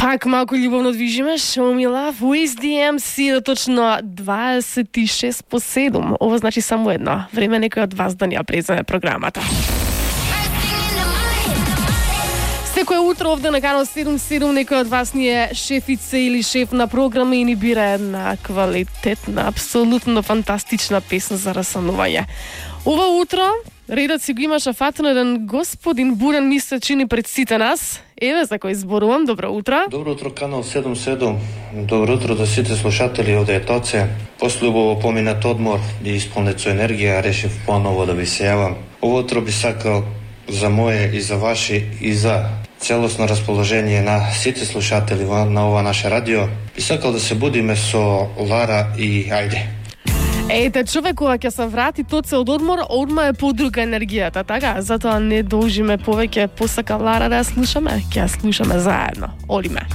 Пак малку љубовно движиме, Show Me Love, With DMC, точно 26 по 7. Ова значи само едно. Време некој од вас да ни ја преземе програмата. Секое утро овде на канал 77 некој од вас ни е шефица или шеф на програма и ни бира една квалитетна, апсолутно фантастична песна за расанување. Ова утро редот си го имаш афатно еден господин Бурен ми се чини пред сите нас. Еве за кој зборувам. Добро утро. Добро утро, канал 77. Добро утро до сите слушатели овде е Тоце. После убаво поминат одмор и исполнет со енергија, решив поново да ви се јавам. Ово утро би сакал за моје и за ваши и за целосно расположение на сите слушатели на ова наше радио. Би сакал да се будиме со Лара и Ајде. Ете, човек кога ќе се врати Тоце од одмор, одма е подруга енергијата, така? Затоа не должиме повеќе, посака Лара да ја слушаме, ќе ја слушаме заедно. Одиме.